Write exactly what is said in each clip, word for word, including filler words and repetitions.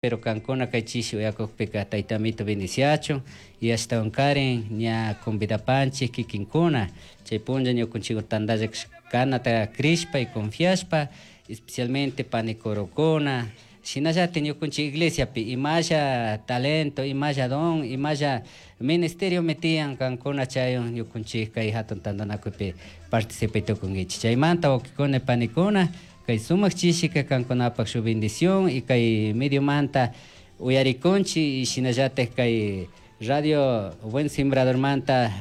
Pero kankuna kay chishi uyakukpika taytamito bendiciachun y ashtawankarin ña convidapanchik kikinkuna chay punlla ñukunchik tantalla kanata crishpa y confiashpa, especialmente panicorokuna, shinallatik ñukunchik iglesiapi imalla talento, imalla don, imalla ministeriomi tiyan kankuna chaywan ñukunchik kay hatun tantanakuypi participay tukunkichik. Chaymanta wawkikuna panikuna kay sumak chishika kankunapak shuk bendición y kay mediomanta uyarikunchik y shinallatik kay radio Buen Sembradormanta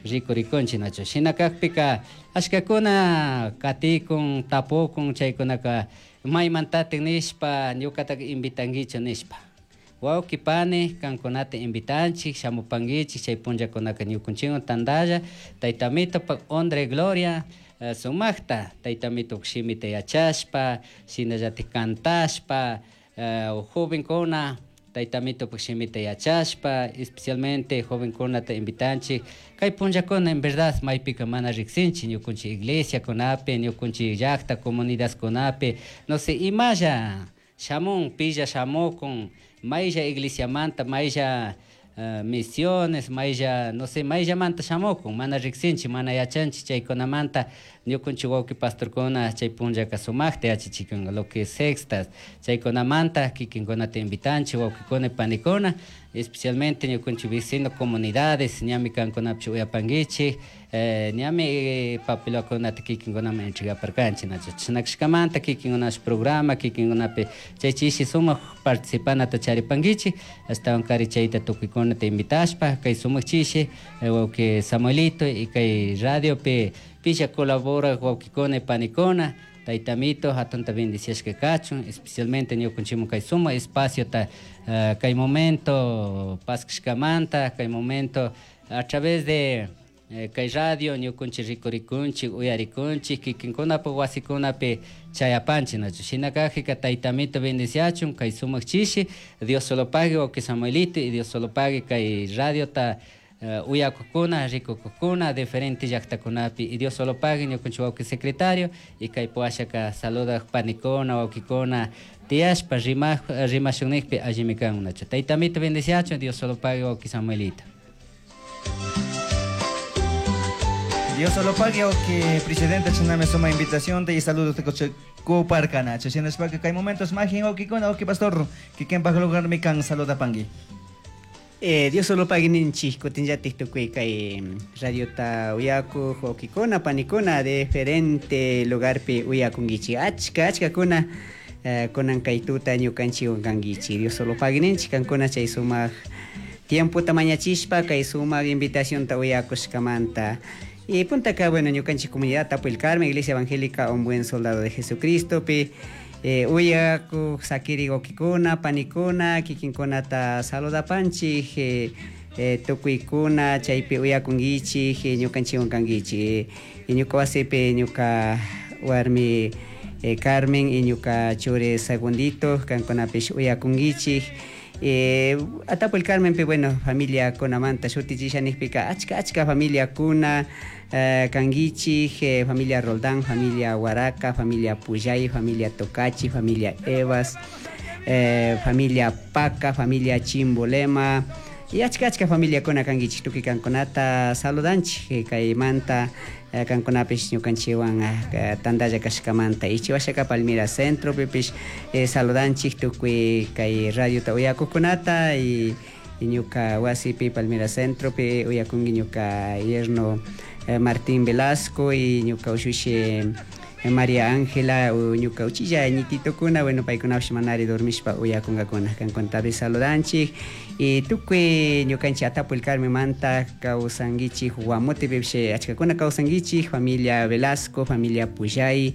rikurikunchik, nachu? Shina kakpika ashkakuna katikun, tapukun chaykunaka maymantatik nishpa, ñukataka invitanguichu nishpa. Wawki pani kankunata invitanchik, shamupankichik chay punllakunaka ñukunchikwan tantalla taytamitopak honra y gloria sumakta taytamitopak shimita yachashpa, shinallatik cantashpa, jovenkuna taytamitopak shimita yachashpa, especialmente jovenkunata invitanchik kay punllakuna. En verdad maypika mana riksinchik ñukunchik iglesiakunapi, ñukunchik llakta comunidadkunapi, no sé imalla shamun, pilla shamukun, maylla iglesiamanta, maylla misiones, maylla, no sé, mayllamanta shamukun, mana riksinchik, mana yachanchik. Chaykunamanta ñukunchik wawki pastorkuna chay punllaka sumakta yachachikunka lo que es sextas. Chaykunamanta kikinkunata invitanchik, wawkikuna panikuna, especialmente ñukunchik vecino comunidades. Ñami kankunapish uyapankichik, ñami papelwakunata kikinkunaman entregaparkanchik, nachu? Chashna kashkamanta kikinkunash programa kikinkunapi chay chishi sumak participanata charipankichik. Ashtawankari chayta tukuykunata invitashpa kay sumak chishi wawki Samuelito y kay radiopi pilla colaborak wawkikuna panikuna, taytamito hatunta bendiciashka kachun, especialmente ñukunchikman kay sumak espaciota kay momento paskashkamanta, kay momento a través de kay radio ñukunchik rikurikunchik, uyarikunchik, kikinkunapak wasikunapi chayapanchik, nachu? Shina kakpika taytamito bendiciachun kay sumak chishi. Dios solo pague wawki Samuelito y Dios solo pague kay radiota uyakukuna, rikukukuna diferente llaktakunapi, y Dios solo pague ñukunchik wawki secretario y kay puwashaka saludak panikuna, wawkikuna tiyashpa rimak rimashunnikpi allimi kan, nachu? Taytamito bendiciachun. Dios solo pague wawki Samuelito. Dios solo pague que presidente chiname suma invitación y saludos te coche kuparkana shinashpaka kay momentos majin wawkikuna, wawki pastor kikinpak lugar mi kan saluda pangui. Eh, Dios solo pague ninchik kutinllatik tukuy kay radiota uyakuq wawkikuna panikuna de diferente lugarpi uyakunkichik, achka achkakuna eh, kunan kay tuta ñukanchikwan kankichik. Dios solo pague ninchik kankuna chay sumak tiempota mañachishpa kay sumak invitacionta uyakushkamanta. Y punta acá, bueno, ñukanchik comunidad Tapo el Carmen, Iglesia Evangélica Un Buen Soldado de Jesucristo pi eh, uyakuq sakiri wawkikuna panikuna kikinkunata saludapanchik, eh, eh, tukuykuna chaypi uyakunkichik, eh, ñukanchikwan kankichik. Eh, ñuka wasipi ñuka warmi eh, Carmen y ñuka churi Segundito kankunapish uyakunkichik. Eh, Atapo el Carmen pi, bueno, familia kunamanta shutichisha nikpika achka achka familia kuna eh, kankichik, eh, familia Roldán, familia Huaraca, familia Puyay, familia Tocachi, familia Evas, eh, familia Paca, familia Chimbolema y achka achka familia kuna kankichik. Tukuy kankunata saludanchik eh, kaymanta eh, kankunapish ñukanchikwan eh, tantalla kashkamanta. Ichiwashaka Palmira Centro pipish eh, saludanchik tukuy kay radiota uyakuqkunata y, y ñuka wasipi Palmira Centro pi uyakunki ñuka yerno eh, Martín Velasco y ñuka ushushi eh, María Ángela ñuka uchilla ñititokuna, bueno, paykunapish manari dormishpa uyakunkakuna. Kankunatapish saludanchik y tukuy ñukanchik Atapo el Carmen manta kawsankichik Guamotepipish achkakuna kawsankichik, familia Velasco, familia Puyay,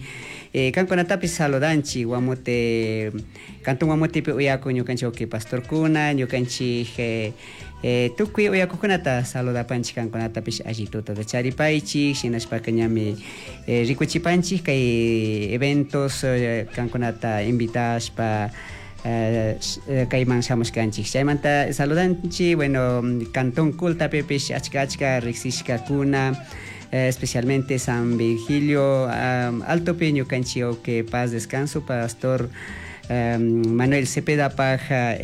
eh, kankunatapish saludanchik. Guamote, cantón Guamotepi uyakun ñukanchik wawki pastorkuna, ñukanchik eh, eh, tukuy uyakuqkunata saludapanchik, kankunatapish alli tutata charipaychik. Shinashpaka ñami eh, rikuchipanchik kay eventos eh, kankunata invitashpa eh, kayman shamushkanchik. Chaymanta saludanchik, bueno, cantón Cultapipish achka achka riksishkakuna, eh, especialmente San Virgilio um, Altopi ñukanchik wawki paz descanso pastor Manuel Cepedapaj